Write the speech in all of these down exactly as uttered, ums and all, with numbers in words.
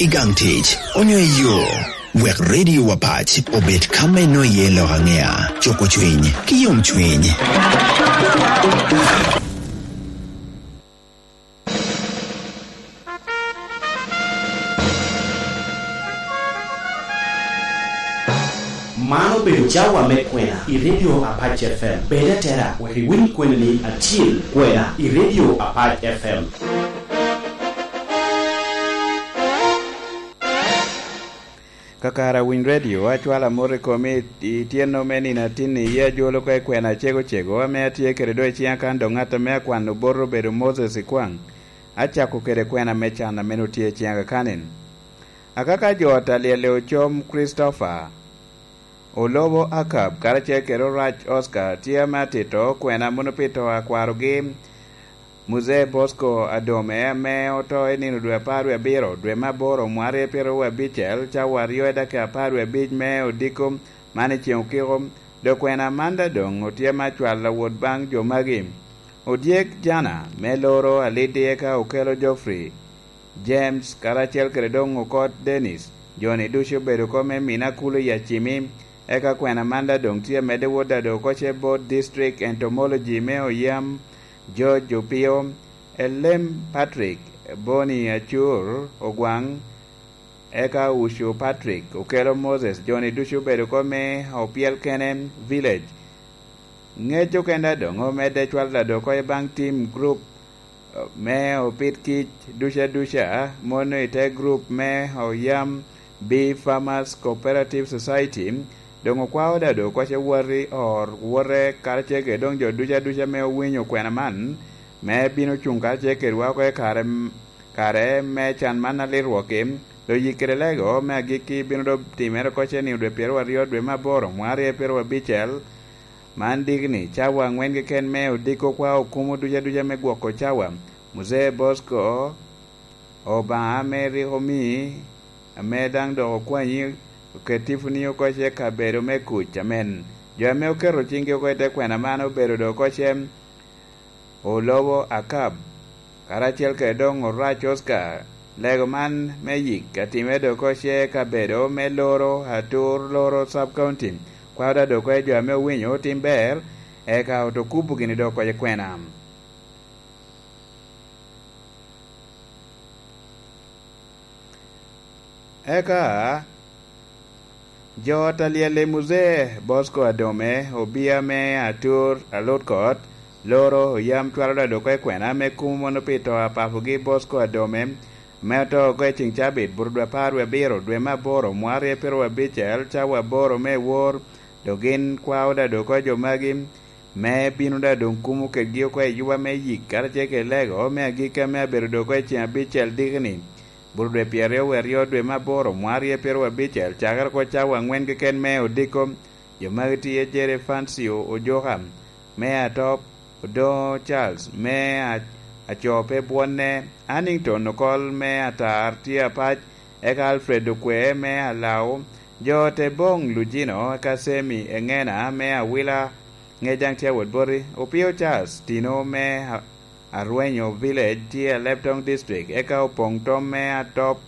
I gang tic, onyo i yo, wek Radio Apac obed ka me nwoŋo iye lok aŋea, cuko cwiny, ki yomcwiny. Man obedo cawa me kwena i Radio Apac F M. Bed atera, wek iwiny kweni-ni acil, kwena i Radio Apac F M. Kakare awiny redio, acwalo amot i komi i tyeno me nino atinni, yie ajolo oko i kwena acego cego, ame atye kede doŋ i ciŋa kan doŋ ŋat ame akwano bot obedo Moses Ikwaŋ. Acako kede kwena me can ame nwoŋo tye i ciŋa kakanin. Akaka jo ot alyelle ocom Christopher, Olobo Akab, karacel kede Orac Oscar, tye ame atito kwena mono pi to a kwarogi, Muzee Bosco Adome, ame oto i nino dwe apar wie abiro, dwe me aboro, mwaka aryo pyeraryo wie abicel, cawa aryo i dakika apar wie abic me odiko man i ceŋ okiko, dok kwena man daŋ doŋ otye me acwal awot baŋ jo magi. Odyek Jana, me Loro, Alidi, eka Okelo Geoffrey, James, karacel kede doŋ Okot Dennis, jo-ni ducu obedo oko me Mina Kulu i Acimi, eka kwena man daŋ doŋ tye amedde wot daŋ doŋ oko ce bot District Entomology me Oyam, George Opio, Elem Patrick, Boni Acur, Ogwaŋ, eka Ucu Patrick, Okelo Moses, jo-ni ducu obedo oko me Opyel Kene Village. Ŋec okene daŋ doŋ omedde cwalo daŋ doŋ oko i baŋ tim group, eh, me opit kic duca duca, mono i te group me Oyam Bee Farmers Cooperative Society, doŋ okwao daŋ doŋ oko ce wot i or wote karacel kede doŋ jo duca duca ame owinyo kwena man, me bino cuŋ karacel kedwa oko i kare, kare me can man alit rwok-ki. Doŋ yik kede lego me agikki bino doŋ timere oko ce nino dwe pyeraryo aryo dwe me aboro, mwaka aryo pyeraryo abicel. Man diki ni, cawa aŋwen keken me odiko kwa okumo duca duca me gwoko cawa. Muzee Bosco, Obaŋa ame rik omi, ame daŋ dok okwanyi, oket tiponi oko ce kabedo me kuc. Amen. Jo ame oketo ciŋgi oko i te kwena man obedo doŋ oko ce Olobo Akab, karacel kede doŋ Orac Oscar. Lego man me yik atime doŋ oko ce kabedo me Loro, Atur, Loro Sub County. Kwao daŋ doŋ oko i jo ame owinyo otim ber, eka oto kubo gini doŋ oko i kwena. Eka jo ot alyel i Muzee Bosco Adome, obia me Atur, Alutkot, Loro, Oyam cwalo daŋ doŋ oko i kwena me kumo mono pi to a papogi Bosco Adome, ame oto oko i ceŋ cabit, buto dwe apar wie abiro, dwe me aboro, mwaka aryo pyeraryo abicel, cawa aboro me wor, dok gin kwao daŋ doŋ oko jo magi, me bino daŋ doŋ kumo kedgi oko i yuba me yik, karacel kede lego me agikki ame abedo doŋ oko i ceŋ abicel diki-ni. Buto dwe pyeraryo wie aryo dwe me aboro, mwaka aryo pyeraryo abicel, cakere oko cawa aŋwen keken me odiko. Jo magi tye Jere Fancio Ojoka me Atop, Odoŋo Charles me A-, Acope Bwonne, Hannington Okol me Atar tye Apac, eka Alfred Okwe me Alao, jo te Boŋ Lujino, eka Semi Eŋena me Awila, Ŋejaŋ tye awot boti, Opio Charles Tino me A-, Arwenyo Village tye Alebtong District, eka Opoŋ Tom me Atop,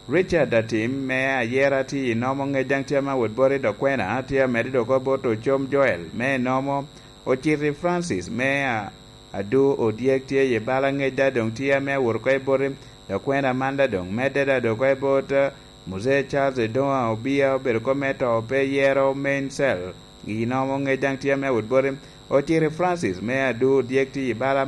Richard Atim me Ayera tye i Nomo, Ŋejaŋ tye ame awot boti, dok kwena tye amedde doŋ oko bot Ocom Joel me Nomo, Ociti Francis me A-, Adu Odyek tye i bala, Ŋeja doŋ tye ame awot oko i boti, dok kwena man daŋ doŋ medde daŋ doŋ oko i bot, eh, Muzee Charles Edoŋa Obia obedo kop me to pe yero main cell. I Nomo, Ŋejaŋ tye ame awot boti, Ociti Francis me Adu Odyek tye i bala,